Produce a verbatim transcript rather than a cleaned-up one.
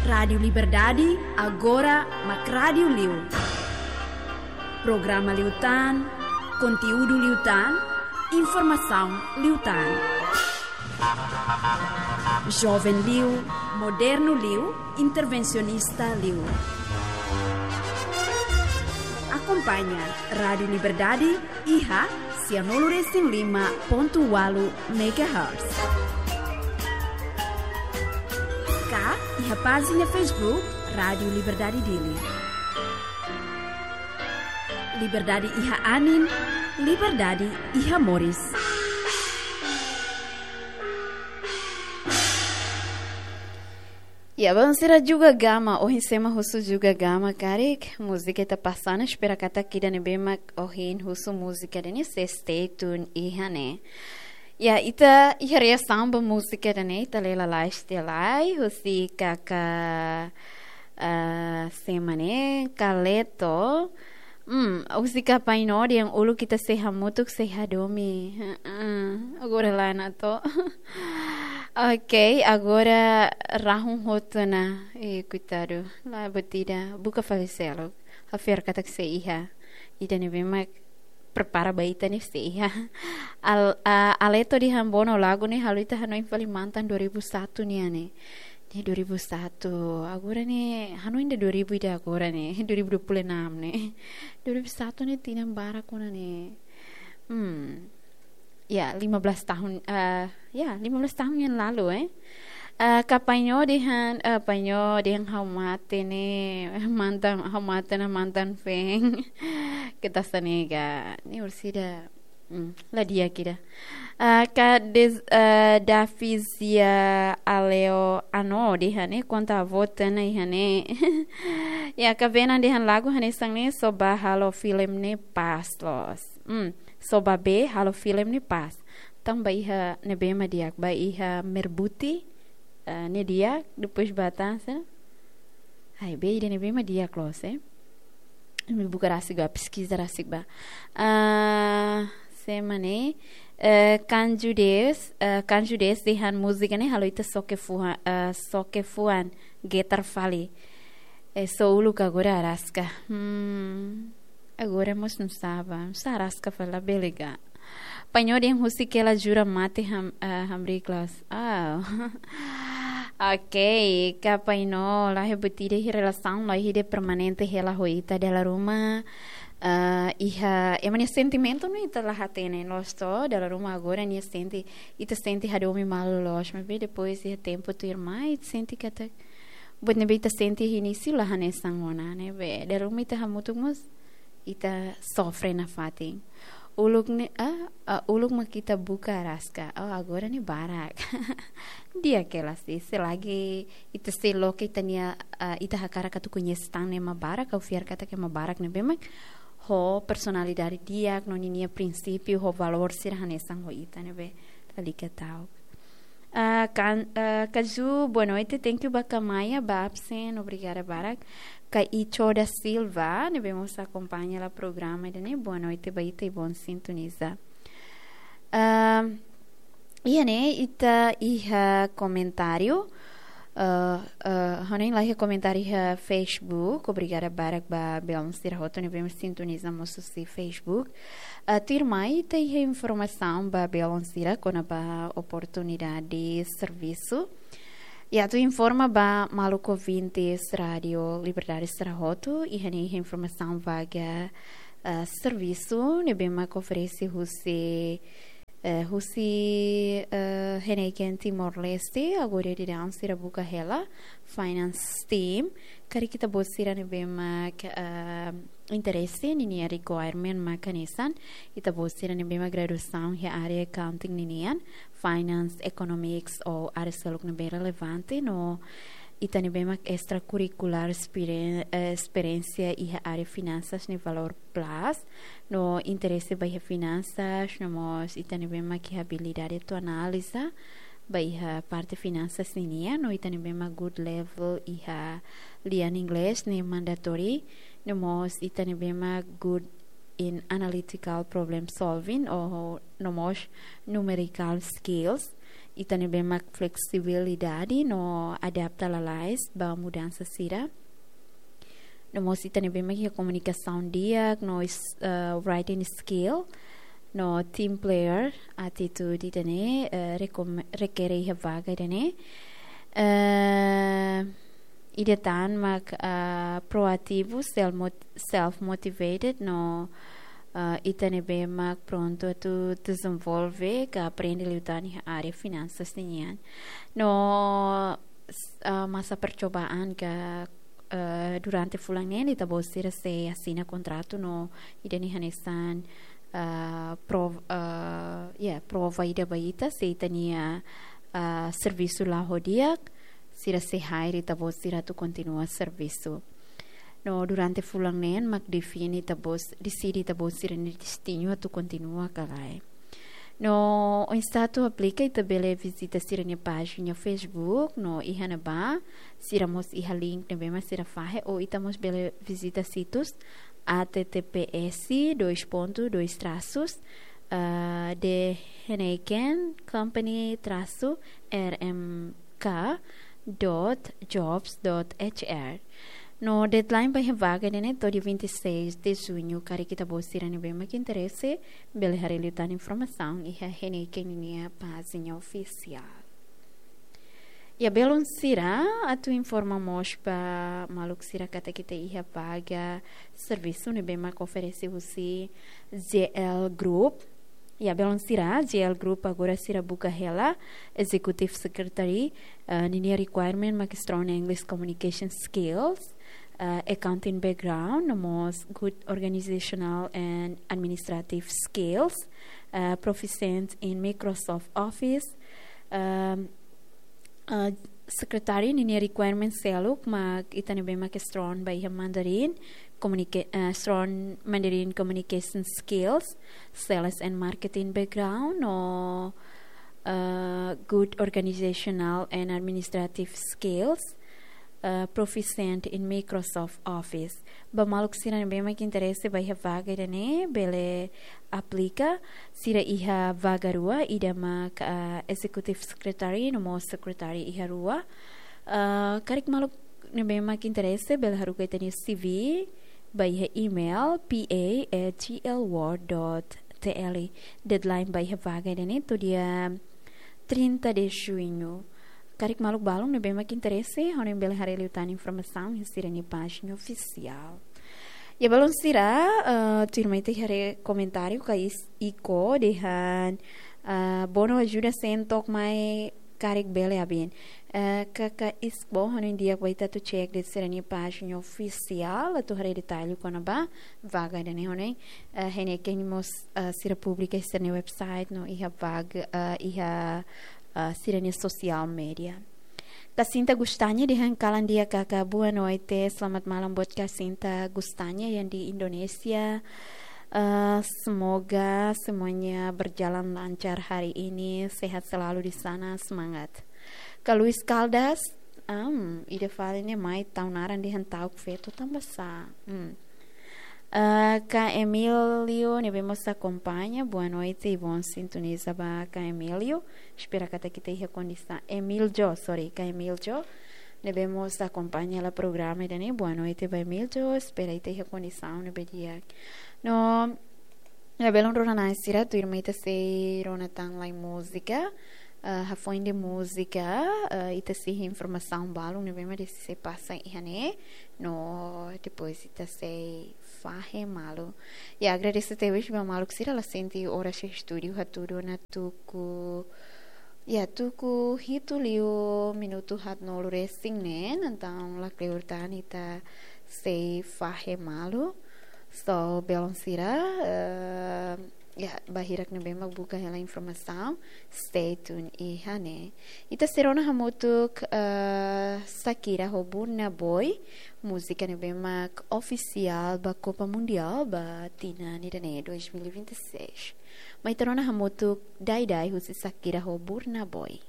Rádiu Liberdade, agora mak rádiu liu. Programa liután, konteúdu liután, informasaun liután. Joven liu, modernu liu, intervensionista liu. Akompaña Rádiu Liberdade iha sianulu resin lima pontu ualu megahertz. Ka iha pájina Facebook Rádiu Liberdade Dili. Liberdade iha anin, liberdade iha moris. Ya, belun sira, Juga Gama, ohin sé mak husu Juga Gama karik, múzika ita pasa ona, espera katak ida ne'ebé mak ohin husu múzika ida-ne'e sei stay tune iha ne'e. Ya, ita iha reasaun ba múzika ida-ne'e, ita lee lalais tiha lai, husi kaka, ah, sé mak ne'e, Kaleto, Hmm, husi Kapainó dehan uluk ita sei hamutuk sei hadomi. Heeh, agora lae ona to. Ok, agora rahun hotu ona. Eh, koitadu. Lae, buat ida. Buka fali seluk. Ha'u fiar katak sei iha. Ida ne'ebé mak prepara ba ita ne'e sei iha. Al-, a-, Aleto dehan bonu lagu ne'e halo ita hanoin fali mantan dua ribu satu nian ne'e. Ne'e dua ribu satu, agora ne'e, hanoin ida dua ribu ida agora ne'e, dua ribu dua puluh enam ne'e. Dua ribu satu ne'e tinan barak ona ne'e. Hmm. Ya, lima belas tahun, eh, ya, lima belas tahun yang lalu, eh. Eh, Kapainó dehan, eh, Kapainó dehan ha'u mate ne'e, mantan, ha'u mate ona mantan feen. Kita sanega, ne'e orsida. Hmm, la di'ak ida. Ah, ka des-, ah, Davizia Aleo Ano dehan ne'e, konta avó tana iha ne'e. Ya, Kavena dehan lagu hanesan ne'e só ba halo filem ne'e pas loos. Hmm, só ba bee halo filem ne'e pas. Tanba iha ne'ebé mak di'ak, ba iha Merbuti, ah, ne'e di'ak, depois ba tan sá. Ai, bee ida ne'ebé mak di'ak loos, eh. Imi buka rasik ba, peskiza rasik ba. Ah, sé mak ne'e, eh, Kanju Des, eh, Kanju Des dehan múzika ne'e halo ita xoke fuan, eh, xoke fuan, getar fali. Eh, só uluk agora araska. Hmm, agora mós nusá ba, nusá araska fali labele ka. Kapainó dehan husik hela jura mate ham-, eh, hamriik loos. Ah. Ok, Kapainó, laiha buat ida iha relasaun, laiha ida permanente hela ho ita dala ruma. Eh, iha, ema nia sentimentu ne'e ita la hatene loos to, dala ruma agora nia sente, ita sente hadomi malu loos, maibé depois iha tempu tuirmai, ita sente katak buat ne'ebé ita sente iha inísiu la hanesan ona, ne'ebé dala ruma ita hamutuk mós ita sofre nafatin. Uluk ne'e, ah, ah, uluk mak ita buka araska. Oh, agora ne'e barak. Di'ak hela sih, selagi ita sei loke ita-nia, ah, ita hakarak atu koñese tan ne'e ema barak, ha'u fiar katak ema barak ne'ebé mak ho personalidade di'ak, no ninia prinsípiu, ho valór sira hanesan ho ita ne'ebé. Lalika ta'uk. Ah, kan, ah, Kaju, boa noite. Thank you ba Kamaia, ba absen, obrigada barak. Kaicho da Silva, ne'ebé mós akompaña hela programa ida-ne'e. Boa noite ba ita i bom sintoniza. Ah, iha ne'e, ita iha komentáriu. Ah, ah, hanoin laiha komentáriu iha Facebook. Obrigada barak ba belun sira hotu ne'ebé sintoniza mós husi Facebook. Ah, tuirmai ita iha informasaun ba belun sira kona-ba oportunidade servisu. I atu informa ba maluk ouvintes Rádiu Liberdade sira hotu, iha ne'e iha informasaun vaga, ah, servisu ne'ebé mak oferese husi, eh, husi, eh, Heineken Timor-Leste, agora daudaun sira buka hela, finance team, karik ita-boot sira ne'ebé mak, ah, interese, ninia requirement mak hanesan, ita-boot sira ne'ebé mak graduasaun iha área accounting ninian, finance, economics ou área seluk ne'ebé relevante, no ita ne'ebé mak extrakurrikulár esperen-, eh, esperiénsia iha área finansas ne'e valór plus, no interese ba iha finansas, no mós ita ne'ebé mak iha abilidade atu analiza ba iha parte finansas ninian, no ita ne'ebé mak good level iha lian inglés ne'e mandatory, no mós ita ne'ebé mak good in analytical problem solving, ou no mós numerical skills. ita ne'ebé mak fleksibilidade no adapta lalais ba mudansa sira. No mós ita ne'ebé mak iha komunikasaun di'ak no is-, eh, writing skill no team player attitude ida-ne'e, eh, rekom-, rekere iha vaga ida-ne'e. Eh, ida tan mak, eh, proativu, self mot-, self motivated no, eh, ita ne'ebé mak prontu atu dezenvolve ka aprende liután iha área finansas nian. No s-, ah, masa percobaan ka, eh, durante fulan neen ita-boot sira sei asina kontratu no ida-ne'e hanesan, ah, prov-, ah, ya, prova ida ba ita se ita-nia, ah, servisu la'o di'ak, sira sei hire ita-boot sira atu kontinua servisu. No durante fulan neen mak define ita-boot, deside ita-boot sira-nia destinu atu kontinua ka lae. No oinsá atu aplika ita bele vizita sira-nia pájina Facebook no iha ne'ebá sira mós iha link ne'ebé mak sira fahe ou ita mós bele vizita situs H T T P S dois ponto dois traços, ah, de Heineken Company traço R M K dot jobs dot H R. No deadline ba iha vaga ne'e to'o dia vinte e seis de junho, karik ita-boot sira ne'ebé mak interese bele haree liután informasaun iha Heineken ninia pájina ofisiál. Ya, belun sira, atu informa mós ba maluk sira katak ita iha vaga servisu ne'ebé mak oferese husi J L Group. Ya, belun sira, J L Group agora sira buka hela Executive Secretary, eh, ninia requirement mak strong English communication skills, eh, accounting background, no mós good organizational and administrative skills, eh, proficient in Microsoft Office, ehm, eh, secretary ninia requirement seluk mak ita ne'ebé mak strong ba iha Mandarin, communica-, eh, strong Mandarin communication skills, sales and marketing background, no, eh, good organizational and administrative skills, eh, proficient in Microsoft Office. Ba maluk sira ne'ebé mak interese ba iha vaga ida-ne'e, bele aplika, sira iha vaga rua, ida mak, eh, Executive Secretary, no mós Secretary iha rua. Eh, karik maluk ne'ebé mak interese, bele haruka ita-nia C V ba iha email P A at G L world dot T L. Deadline ba iha vaga ida-ne'e to'o dia trinta de junho. Karik maluk balun ne'ebé mak interese, ha'u hanoin bele haree liután informasaun iha sira-nia pájina ofisiál. Ya, belun sira, eh, tuirmai ita haree komentáriu ka is-, Iko dehan, eh, Bono ajuda sen tok mai karik bele abin. Eh, kaka is bo ha'u hanoin di'ak ba ita atu cek de'it sira-nia pájina ofisiál, atu haree detalle kona-ba vaga ida-ne'e ha'u hanoin, eh, Heineken mós, eh, sira publika iha sira-nia website no iha vaga, eh, iha, eh, sira-nia social media. Kasinta Gustanya dehan kalan di'ak kaka, boa noite, selamat malam buat Kasinta Gustanya yang di Indonesia. Eh, semoga semuanya berjalan lancar hari ini, sehat selalu di sana, semangat. Ka Luis Caldas, am, ida fali ne'e mai tau naran dehan ta'uk feto tanba sá. Hmm. Eh, ka Emílio ne'ebé mós akompaña, boa noite, bom sintoniza ba ka Emílio. Espera katak ita iha kondisaun. Emílio, sorry, ka Emílio ne'ebé mós akompaña hela programa ida-ne'e, boa noite ba Emílio. Espera ita iha kondisaun ne'ebé di'ak. No, ya, belun rona-na'in sira, tuirmai ita sei rona tan lai múzika. Eh, hafoin de múzika, eh, ita sei iha informasaun balun ne'ebé mak sei pasa iha ne'e. No, depois ita sei fahe malu. Ya, agradese tebes ba maluk sira, la sente oras iha estúdiu hatudu ona tuku, ya, tuku hitu liu minutu haatnulu resin neen, entaun lakleur tan ita sei fahe malu. So, belun sira, eh, ya, bainhira ne'ebé mak buka hela informasaun, stay tuned iha ne'e. Ita sei rona hamutuk, eh, Shakira ho Burna Boy, múzika ne'ebé mak ofisiál ba Copa Mundial ba tinan ida-ne'e dois mil e vinte e seis. Mai ita rona hamutuk Dai Dai husi Shakira ho Burna Boy.